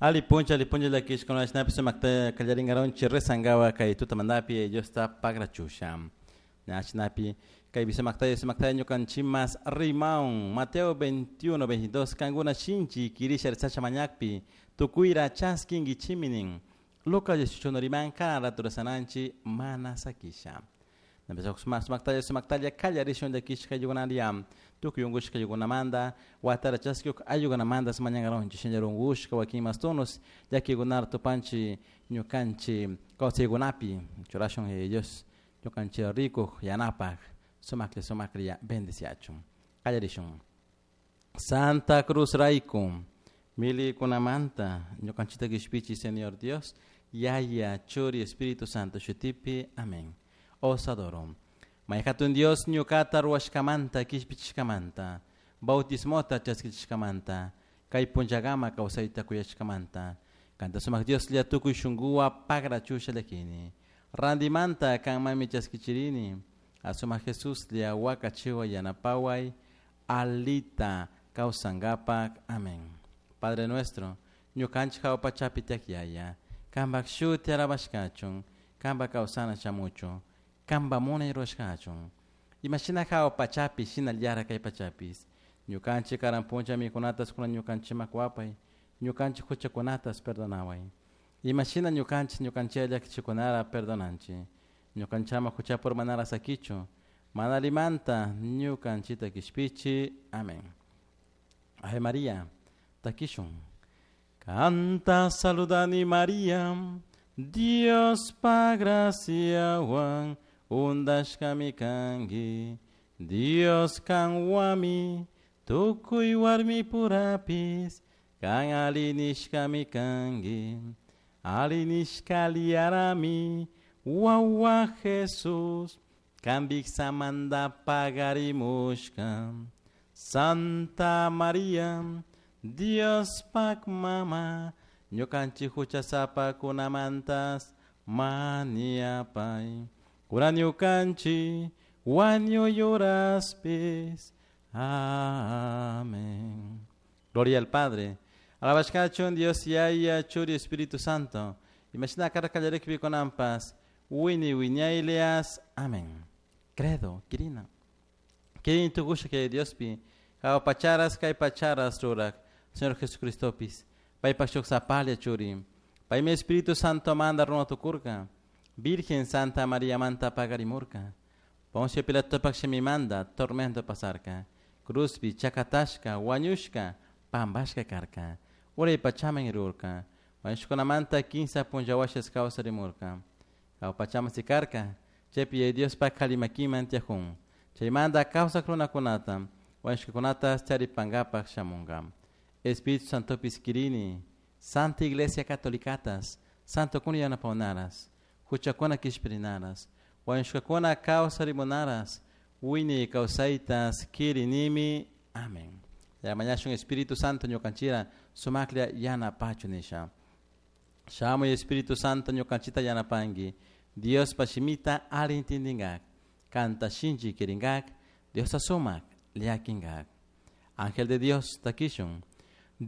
Ali puncha, ali puncha llakishkuna shinapish sumakta kallarinkaronchik rezankawa kay tutamantapi Diosta pagrachusha. Shinapi kaypi sumaktalla sumaktalla ñukanchikmas rimaun Mateo 21, 22 kankuna shinchi kirisha rezasha mañakpi tukuyra chaskinkichikmi nin. Lucas 18 riman karan rato rezananchik mana sakisha. Sumaktalla sumaktalla kallarishun llakishka ayllukunaria tukuy unkushka ayllukunamanta watara chaskik ayllukunamanta mañankaronchik shinallar unkushka wakin mas tonos llakikunata tupanchik ñukanchik kawsaykunapi churashun Yaya Dios ñukanchik rikuk yanapak sumaklla sumaklla bendiciachun. Kallarishun. Santa Cruz rayku milikunamanta ñukanchikta kishpichi Señor Dios Yaya Churi Espíritu Santo shutipi. Amén. Os adoro. May hatun Dios ñukata ruwashkamanta kishpichishkamanta bautismota chaskichishkamanta kay punllakama kawsayta kuyashkamanta kanta sumak Dioslla tukuy shunkuwa pagrachusha llakini randimanta kanmanmi chaskichirini asumak Jesuslla wakachiwa yanapaway alita kawsankapak. Amén. Padre nuestro, ñukanchik hawa pachapi tiyak Yaya, kanpak shuti alabashkachun, kanpak kawsana shamuchun, kanpak munay rurashkachun. Imashina hawa pachapi shinallara kay pachapis. Ñukanchik karan puncha mikunatas kunan ñukanchikman kuwapay, ñukanchik huchakunatas perdonaway. Imashina ñukanchik ñukanchik llakichikunara perdonanchik. Ñukanchama huchapi urmanara sakichu, mana allimanta ñukanchikta kishpichi. Amén. Ave María, takishun. Kanta saludani María, Diospa graciawan undashkami kanki, Dios kanwami tukuy warmipurapis kan alli nishkami kanki, alli nishkallarami wawa Jesús kanpik samanta pagarimushka. Santa María, Diospak mama, ñukanchik huchasapakunamantas mañapay. Kunan ñukanchik wañuy horaspis. Amén. Gloria al Padre. Alabashkachun Dios Yaya Churi Espíritu Santo. Imashina karka kallarikpi kunanpas wini wiñaylias. Amén. Credo, kirina. Kirin tukusha que Diospi, hawa pacharas kay pacharas rurak, Señor Jesucristopis, paypak shuk sapalla churi. Paymi Espíritu Santo manda runa tukurka, Virgen Santa María manta pagarimurka. Poncio Pilatopak shimimanda tormento pasarka. Cruzpi chakatashka, wañushka, pambashka karka. Uray pachaman rurka. Wañushkunamanta kinsa punllawashas kawsarimurka. Hawa pachaman sikarka, chaypi Diospak kalimakiman tiyajun. Chaymanta kawsak runakunata, wañushkakunata charipankapak shamunka. Espíritu Santopis kirini, Santa Iglesia Catolicatas, Santo kuna yanapawnaras, huchakuna kishpirinaras, wañushkakuna kawsarimunaras, wiñay kawsaytas kirinimi. Amén. Ya mañashun Espíritu Santo ñukanchira sumaklla yanapachu nisha. Shamuy Espíritu Santo ñukanchita yanapanki, Diospa shimita alli intindinkak, kanta shinchi kirinkak, Diosta sumak llakinkak. Ángel de Dios takishun,